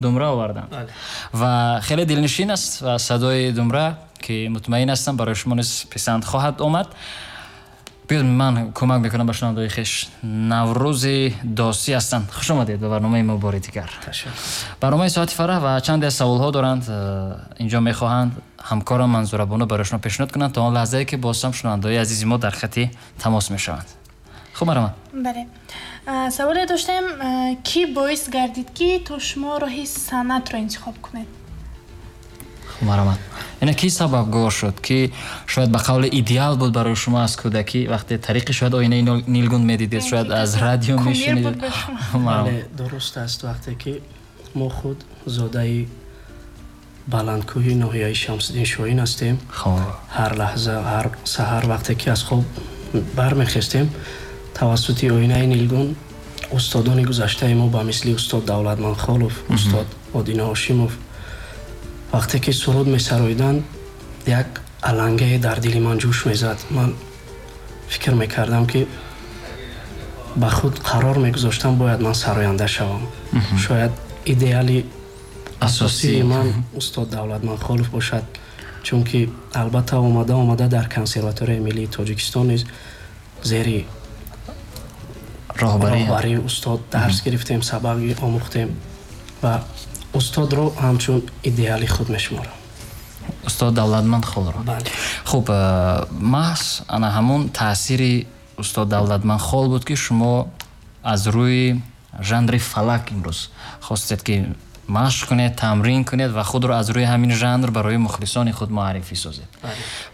Думра оварданд ва хеле дилнишин аст ва садои думра, ки мутмаин ҳастам, барои шумо низ писанд хоҳад омад. Биёед, ман кӯмак мекунам ба шунавандаҳои хеш. Наврӯзи Досӣ ҳастанд. Хуш омадед ба барномаи мо бори дигар. Барномаи Соати Фараҳ, ва чанде аз саволҳо доранд, инҷо мехоҳанд ҳамкорам Манзура Бону барои шумо пешниҳод кунанд, то он лаҳзае ки боз ҳам шунавандаҳои азизи мо дар хати тамос мешаванд. Хуб, марҳамат. Бале, саволе доштем: кӣ боис гардид, ки то шумо роҳи санъатро интихоб кунед? Хуб, марҳамат. Ина кӣ сабабгор шуд, ки шояд ба қавли идеал буд барои шумо аз кӯдакӣ, вақте тариқи шояд оинаи нилгун медидед, шояд аз радио мешунидед? Бале, дуруст аст. Вақте ки мо худ зодаи баландкӯҳи ноҳияи Шамсиддин Шоҳин ҳастем, ҳар лаҳза, ҳар саҳар, вақте ки аз хоб бармехестем, тавассути оинаи нилгун устодони гузаштаи мо, ба мисли устод Давлатманд Холов, устод Одина Ҳошимов, вақте ки суруд месароиданд, як алангае дар дили ман ҷӯш мезад. Ман фикр мекардам, ки ба худ қарор мегузоштам, бояд ман сароянда шавам. Шояд идеали асосии ман устод Давлатманд Холов бошад, чунки албатта омада омада дар Консерваторияи миллии Тоҷикистон низ зери роҳбарии устод дарс гирифтем, сабақ омӯхтем ва устодро ҳамчун идеали худ мешуморам. Устод Давлатманд Холро. Хуб, маҳз ана ҳамон таъсири устод Давлатманд Хол буд, ки шумо аз рӯи жанри фалак имрӯз хостед, ки машқ кунед, тамрин кунед ва худро аз рӯи ҳамин жанр барои мухлисони худ муаррифӣ созед.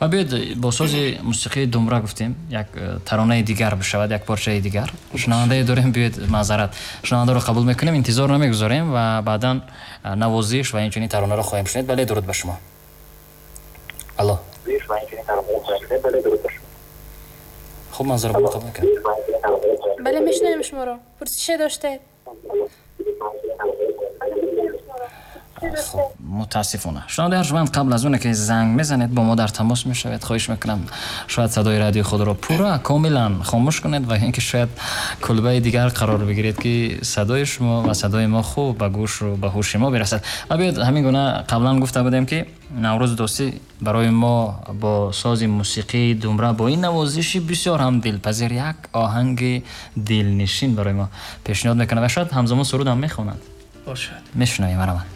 Ва биёед, бо сози мусиқии думра гуфтем, як таронаи дигар бишавад, як порчаи дигар. Шунавандае дорем, биёед, маъзарат, шунавандаро қабул мекунем, интизор намегузорем ва баъдан навозиш ва инчунин таронаро хоҳем шунид. Бале, дуруд ба шумо. Алло. Хуб, Манзура, қабул мекунем. Бале, мешунавем шуморо. Пурсише доштед? Хуб, мутаассифона. Шунавандаи арҷманд, қабл аз оне ки занг мезанед, бо мо дар тамос мешавед, хоҳиш мекунам, шояд садои радиои худро пурра, комилан хомӯш кунед ва ин ки шояд кулбаи дигар қарор бигиред, ки садои шумо ва садои мо хуб ба гӯшу ба ҳуши мо бирасад. Ва биёед, ҳамин гуна қаблан гуфта будем, ки Наврӯз Дӯстӣ барои мо бо сози мусиқии думра, бо ин навозиши бисёр ҳам дилпазир, як оҳанги дилнишин барои мо пешниҳод мекунад ва шояд ҳамзамон суруд ҳам мехонад. Бошад. Мешунавем, марҳамат.